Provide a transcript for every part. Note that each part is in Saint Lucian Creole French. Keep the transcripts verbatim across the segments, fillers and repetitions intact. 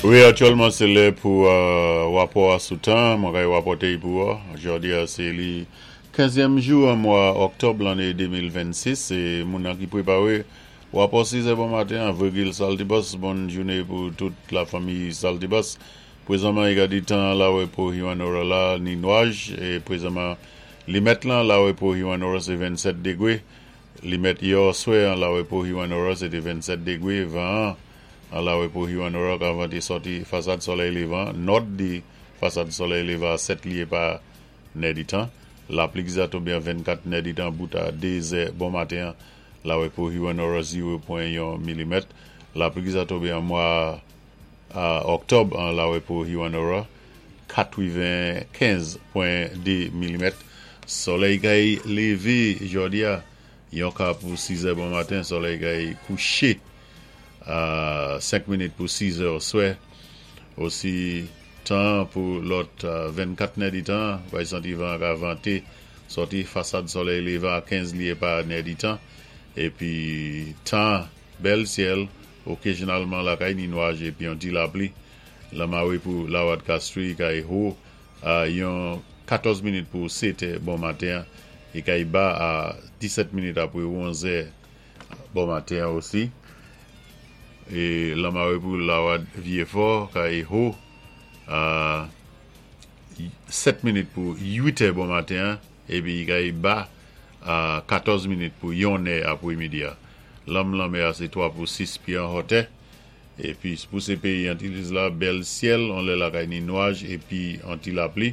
Wi, aktyèlman sé lè pou wapò a sou tan, mwen kay wapòté pou ou. Jòdi a sé li kenzyèm jou an mwa òktòb lanné de mil vennsis. Sé moun nan ki pwéparé wapò sizè bon maten an, Virgil Saltibus. Bòn jouné pou tout la fanmi Saltibus. Pwézanman, i ka di tan Larepo Hewanorra la ni nwaj, é pwézanman limèt lan Larepo Hewanorra sé vennsèt dégwé. Limèt yè oswè an Larepo Hewanorra sé té vennsèt dégwé. Van an Larepo Hewanorra ka vanté sòti fasad solèy lévan, nòd di fasad solèy lévan a sèt lyé pa nèditan. Lapli ki za tonbé an vennkat nèditan bout a dé zè bon maten Larepo Hewanorra, zewo pwen yon milimèt. Lapli ki za tonbé an mwa òktòb an Larepo Hewanorra, katrevenkenz pwen de milimèt. Solèy kay lévé jòdi a yon ka pou sizè bon maten, solèy kay kouché a senk minit pou sizè oswè. Osi tan pou lòt vennkat nèditan, bay santi van ka vanté sòti fasad solèy lévan a kenz lyé pa nèditan. Épi tan bèl syèl, okazyonalman lakay ni nwaj épi yon ti lapli. Lanmawé pou Lawad Castries kay wo a yon katòz minit pou sèt bon maten é kay ba a disèt minit apwé onzè bon maten osi. É lanmawé pou Lawad Vieux-Fort kay wo a sèt minit pou uit bon maten épi kay ba a katòz minit pou yon apwé midi. Lanm lanmè a sé twa pou sis pyé an wotè. Épi pou sé péyi Antilles la, bèl syèl, on lè lakay ni nwaj épi an ti lapli.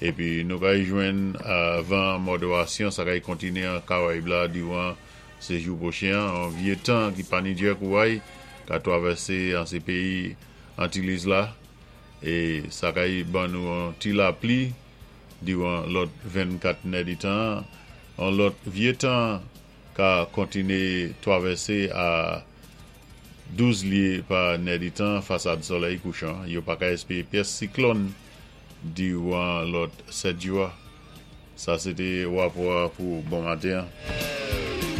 Épi nou kay jwenn van modérasyon, sa kay kontiné an Karayib la diwan sé jou pwochen, an vyé tan ki pa ni djè kouway ka twavèsé an sé péyi Antilles la é sa kay ban nou an ti lapli diwan lòt vennkat nèditan. An lòt vyé tan ka kontiné twavèsé a douz lyé pa nèditan fasad solèy kouchan. Yo pa ka èspéwé pyès siklòn diwan lòt sèt jou. Sa sé té wapò pou bon maten.